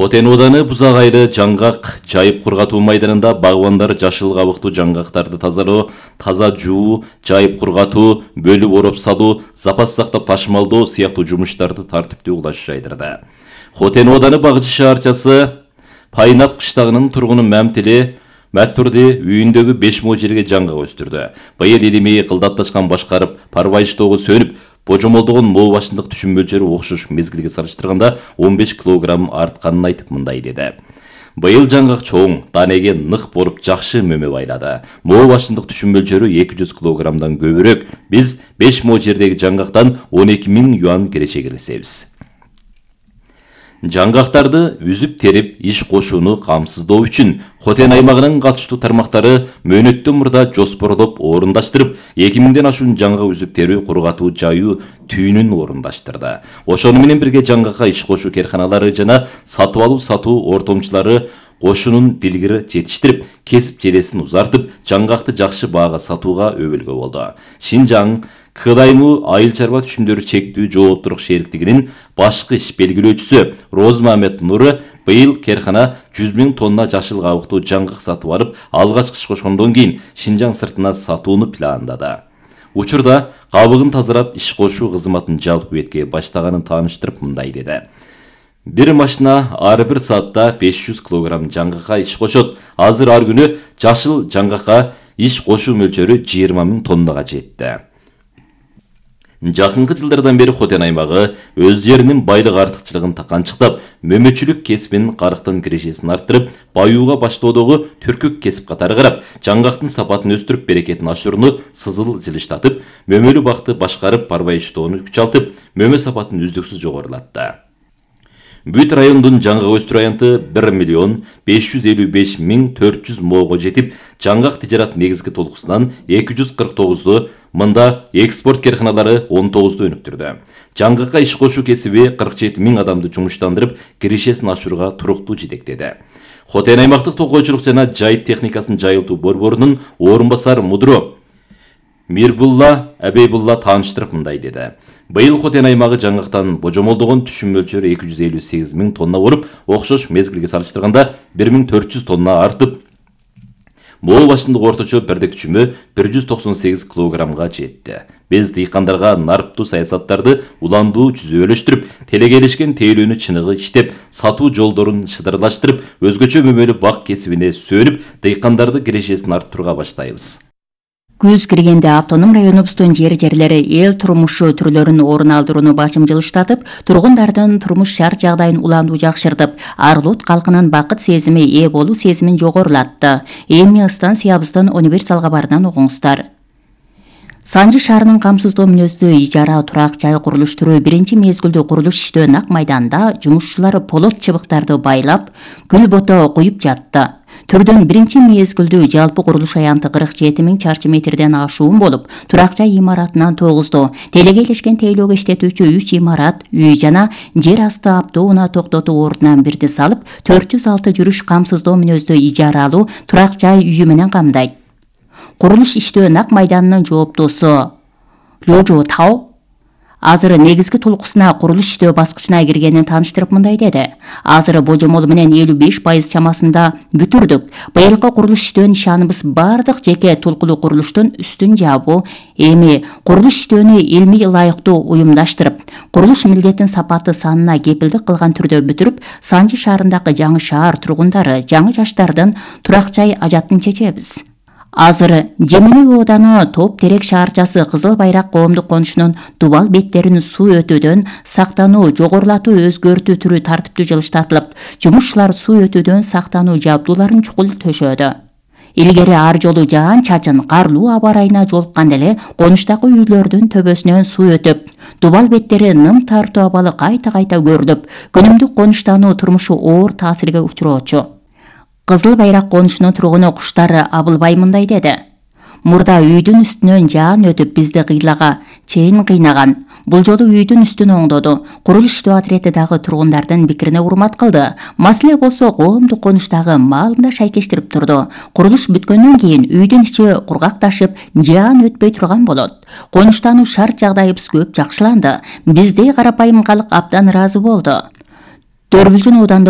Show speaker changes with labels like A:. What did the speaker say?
A: Хотен ооданы Бузак айылы жаңгак жайып кургатуу майданында багбандар жашыл кабыктуу жаңгактарды тазалоо, таза жуу, жайып кургатуу, бөлүп ороп салуу, запас сактап ташымалдоо сыяктуу жумуштарды тартиптүү улаш жайдырды. Хотен ооданы Багчы шаарчасы Пайнап кыштагынын тургуну Мамтили Мәттүрди үйүндөгү 5 мо жерге жаңгак өстүрдү. Быйыл илимий кылдатташкан башкарып, парбайыштоого сөнүп, божомолдогон мол башындык түшүм мөлчөрү окшош мезгилге салыштырганда 15 килограмм артканын айтып мындай деди. Быйыл жаңгак чоң, данеге нык болуп жакшы мөмө байлады. Мол башындык түшүм мөлчөрү 200 килограммдан көбүрөөк. Биз 5 мо жердеги жаңгактан 12 000 юан киреше киргизебиз. Жаңгактарды үзүп терип иш кошууну камсыздоо үчүн Хотен аймагынын катыштуу тармактары мөөнөттөн мурда жоспорлоп орундаштырып, 2000ден ашуун жаңгак үзүп терүү, кургатуу, жайуу түйүнүн орундаштырды. Ошону менен бирге жаңгакка иш кошуу керканалары жана сатып алуу сатуу ортомчулары кошунун билгири жетиштирип, кесип желесин узартып, жаңгакты жакшы баага сатууга өбөлгө болду. Шинжаң КДАЙМУ айыл чарба түшүмдөрү чектүү жооптуулук шериктигинин башкы иш белгилөөчүсү Розмамет Нуры быйыл керкана 100 000 тонна жашыл кабыктуу жаңгак сатып алып, алгачкы иш кошкондон кийин Шинжаң сыртына сатууну пландады. Учурда кабыгын тазалап иш кошуу кызматын жалпы бетке баштаганын тааныштырып мындай деди. Бир машина ар бир саатта 500 килограмм жаңгакка иш кошот. Азыр ар күнү жашыл жаңгакка иш кошуу мөлчөрү 20 000 тоннага жетти. Жакынкы жылдардан бери Хотен аймагы өз жеринин байлык артыкчылыгын канчыктап, мөмөчүлүк кесибинин карыктын кирешесин арттырып, баюуга баштоодогу түркүк кесип катары карап, жаңгактын сапатын өстүрүп, берекетин ашырууну сызыл жылыштатып, мөмөлүү бакты башкарып, парбайыштоону күчалтып, мөмө сапатын үздүксүз жогорулатты. Бүт райондун жаңгак өстүрүү аянты 1 555 400 мого жетип, жаңгак тижарат негизги толкусунан 249 мында экспорт керканалары 19 өнүктүрдү. Жаңгакка иш кошуу кесиби 47 000 адамды жумуштандырып, кирешесин ашырууга туруктуу жетектеди. Хотен аймактык токойчулук жана жайыт техникасын жайылтуу борборунун орун басар мудро Мирбулла Абейбулла тааныштырып мындай деди. Быйыл Хотен аймагы жаңгактан божомолдогон түшүм мөлчөрү 258 000 тонна болуп, окшош мезгилге салыштырганда 1400 тонна артып, мол башындык орточо бердек түшүмү 198 килограммга жетти. Биз дыйкандарга нарыктуу саясаттарды уландуу жүзөлөштүрүп, телегелешкен тейлөөнү чыныгы иштеп, сатуу жолдорун шыдырлаштырып, өзгөчө мөмөлүү бак кесибине сөнүп, дыйкандарды кирешесин арттырууга баштайбыз.
B: Күз киргенде автоном районубуздун жерлери эл турмушу түрлөрүн орун алдырууну башым жылыштатып, тургундардын турмуш шарт жагдайын уландуу жакшыртып, арлут калкынын бакыт сезими ээ болуу сезимин жогорулатты. Эми станциябыздын универсал кабарынан угуңуздар. Санжы шаарынын камсыздоо мүнөздүү ижара турак жай курулуштуруу биринчи мезгилдүү курулуш иштөө нак майданда жумушчулар полот чыбыктарды байлап, күл бото куюп жатты. Түрдөн биринчи мезгилдүү жалпы курулуш аянты 47 000 чарчы метрден ашуун болуп, турак жай имаратынан 9, телегейлешкен тейлөөгө иштетүүчү 3 имарат, үй жана жер асты автоунаа токтотуу ордунан бирди салып, 406 жүрүш камсыздоо мүнөздүү ижаралуу турак жай үйү менен камдайт. Курулуш иштөө нак майданынын жооптуусу Лёжо Тау азыр негизги толкусуна курулуш иштөө баскычына киргенин тааныштырып мындай деди. Азыр божомол менен 55% чамасында бүтүрдүк. Быйылкы курулуш иштөө нишаныбыз бардык жеке толкулуу курулуштун үстүн жабуу. Эми курулуш иштөөнү илмий ылайыктуу уюмдаштырып, курулуш милдетин сапаты санына кепилдик кылган түрдө бүтүрүп, Санжы шаарындагы жаңы шаар тургундары, жаңы жаштардын турак жай ажатын чечебиз. Азыр Жемени ооданы Топ Терек шаарчасы Кызыл Байрак коомдук конушунун дубал беттерин суу өтүүдөн сактануу, жогорулатуу, өзгөртүү түрү тартиптүү жылыштатылып, жумушчулар суу өтүүдөн сактануу жабдууларын чукул төшөдү. Илгери ар жолу жаан чачын, карлуу аба ырайына жолукканда эле конуштагы үйлөрдүн төбөсүнөн суу өтүп, дубал беттери ным тартуу абалы кайта-кайта көрүлүп, күнүмдүк конуштануу турмушу оор таасирге учуроочу. Кызыл Байрак конушунун тургуну Куштары Абылбай мындай деди. Мурда үйдүн үстүнөн жаан өтүп бизди кыйлага чейин кыйнаган. Бул жолу үйдүн үстүн оңдоду. Курулуш иштөө отряды дагы тургундардын пикирине урмат кылды. Маселе болсо коомдук конуштагы маалында шайкештирип турду. Курулуш бүткөндөн кийин үйдүн ичи кургакташып, жаан өтпөй турган болот. Конуштануу шарт жагдайыбыз көп жакшыланды. Биздей карапайым калк абдан ыраазы болду. Дөрбүлжүн оодандагы